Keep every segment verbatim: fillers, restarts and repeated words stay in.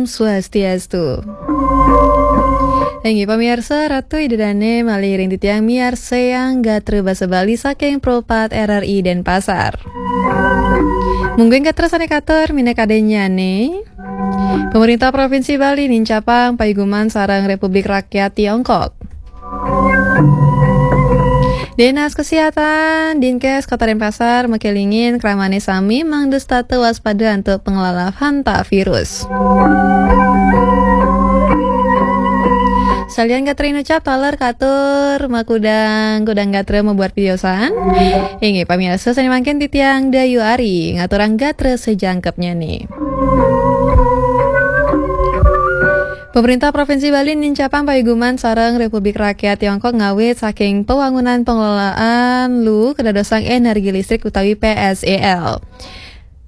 Swastiastu. Inggih pamiarsa, Ratu Ida Dane malih ring titiang miarsayang gatra basa Bali saking Pro pat R R I Denpasar. Mungguing gatra sane katur minakadinnyane, Pemerintah Provinsi Bali nincapang paiguman sareng Republik Rakyat Tiongkok. Dinas Kesihatan, Dinkes Kota Denpasar makelingin kramane sami mangda setata waspada antuk panglala hantavirus. Salian gatra inucap taler katur makudang kudang gatra mabuat piosan. Inggih pamiarsa sane mangkin titiang Dayu Ari ngaturang gatra sajangkepnyane. Pemerintah Provinsi Bali nincapang paiguman sareng Republik Rakyat Tiongkok ngawit saking pewangunan pengelolaan lu kedadosang energi listrik utawi P S E L.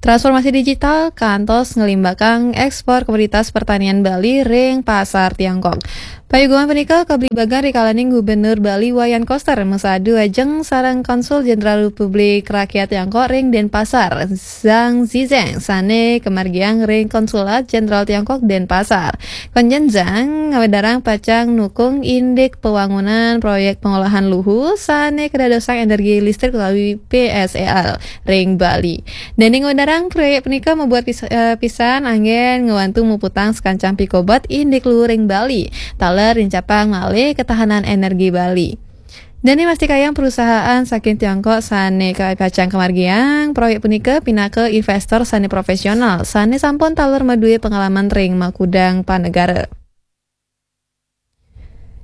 Transformasi digital kantos ngelimbakang ekspor komoditas pertanian Bali ring pasar Tiongkok. Paiguman punika kablibagan rikalaning Gubernur Bali Wayan Koster masadu ajeng sareng Konsul Jenderal Republik Rakyat Tiongkok ring Denpasar, Zhang Zizeng, sane kamargiang ring Konsulat Jenderal Tiongkok Denpasar. Konjen Zhang ngawedarang pacang nukung indik pawangunan proyek pengolahan luhu sane kadadosang energi listrik utawi P S E L ring Bali. Dene ngawedarang proyek punika mabuat pis-, eh, pisan anggen ngwantu muputang sekancang pikobet indik luhu ring Bali. Taler nincapang malih ketahanan energi Bali. Dene mastikayang perusahaan saking Tiongkok sane ka-, pacang kamargiang proyek punika pinaka investor sane profesional, sane sampun taler madue pengalaman ring makudang panegara.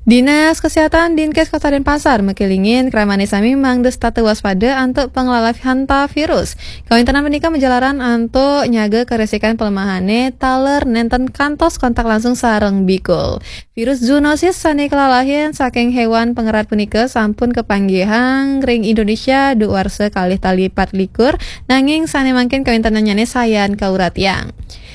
Dinas Kesehatan Dinkes Kota Denpasar makelingin kramane sami mangda setata waspada antuk panglala hantavirus. Kawintenan punika majalaran antuk nyaga karesikan pelemahane taler nenten kantos kontak langsung sareng bikul. Virus zoonosis sane kalalahin saking hewan pangerat punika sampun kapanggihang ring Indonesia duk warsa kalih tali pat likur, nanging sane mangkin kawintenannyane sayan kauratiang.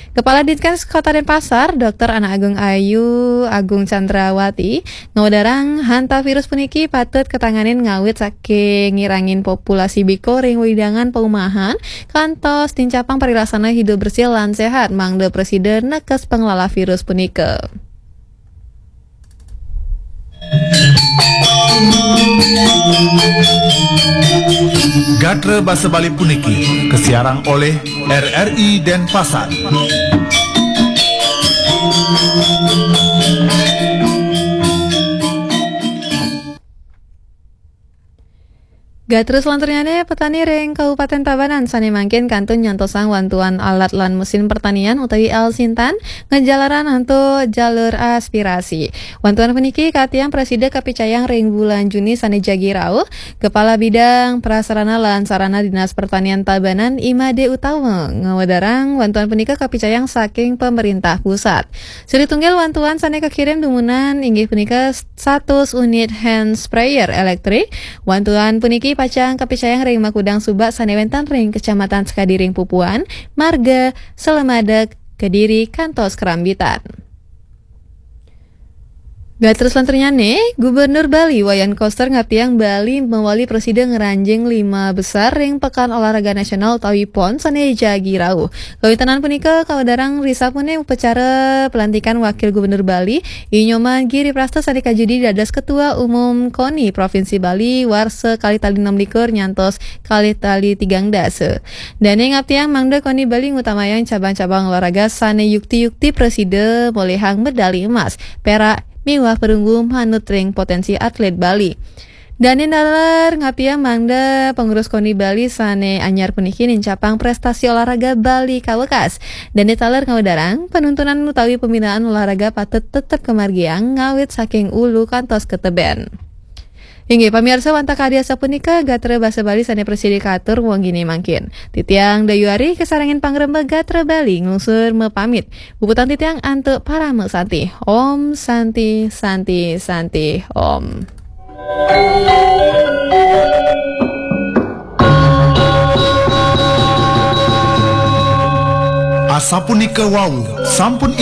Kepala Dinkes Kota Denpasar, Doktor Ana Agung Ayu Agung Chandrawati, ngawedarang hantavirus puniki patut katanganin ngawit saking ngirangin populasi bikul ring wewidangan paumahan, kantos nincapang parilaksana hidup bersih lan sehat, mangda prasida nekes panglala virus punika. Gatra basa Bali puniki kasiarang oleh R R I Denpasar. Gatra salanturnyane, petani ring Kabupaten Tabanan sane mangkin kantun nyantosang wantuan alat lan mesin pertanian utawi L Sintan ngejalaran antuk jalur aspirasi. Wantuan puniki katiang prasida kapicayang ring bulan Juni sane jagi rauh. Kepala Bidang Prasarana lan Sarana Dinas Pertanian Tabanan Imade Utama ngawedarang wantuan punika kapicayang saking pemerintah pusat. Silih tunggil wantuan sane kakirim dumunan inggih punika satus unit hand sprayer elektrik. Wantuan puniki pacang kapicayang ring makudang subak sane wenten ring Kecamatan Sekadi ring Pupuan, Marga, Selamadeg, Kediri, kantos Kerambitan. Gatra salanturnyane, Gubernur Bali Wayan Koster ngaptiang Bali mawali prasida ngranjing lima besar ring Pekan Olahraga Nasional utawi pon sane jagi rauh. Kawintenan punika kawedarang ring sapune upacara pelantikan Wakil Gubernur Bali, I Nyoman Giri Prasta sane kajudi dados Ketua Umum koni Provinsi Bali warsa kalih tali enam likur nyantos kalih tali tigang dasa. Dane ngaptiang mangda koni Bali ngutamayang cabang-cabang olahraga sane yukti-yukti prasida molihang medali emas, perak, miwah perunggu manut ring potensi atlet Bali. Dane taler ngaptiang mangda pengurus koni Bali sane anyar puniki nincapang prestasi olahraga Bali kawekas. Dane taler ngawedarang, penuntunan utawi pembinaan olahraga patut tetep kamargiang ngawit saking ulu kantos ke teben. Inggih, pamiarsa, wantah kadi asapunika gatra basa Bali sane prasida katur wengi mangkin. Titiang Dayu Ari kasarengin pangrembag gatra Bali nglungsur mapamit. Puputang titiang antuk parama santi. Om Santi, Santi, Santi, Om. Asapunika wau, sampun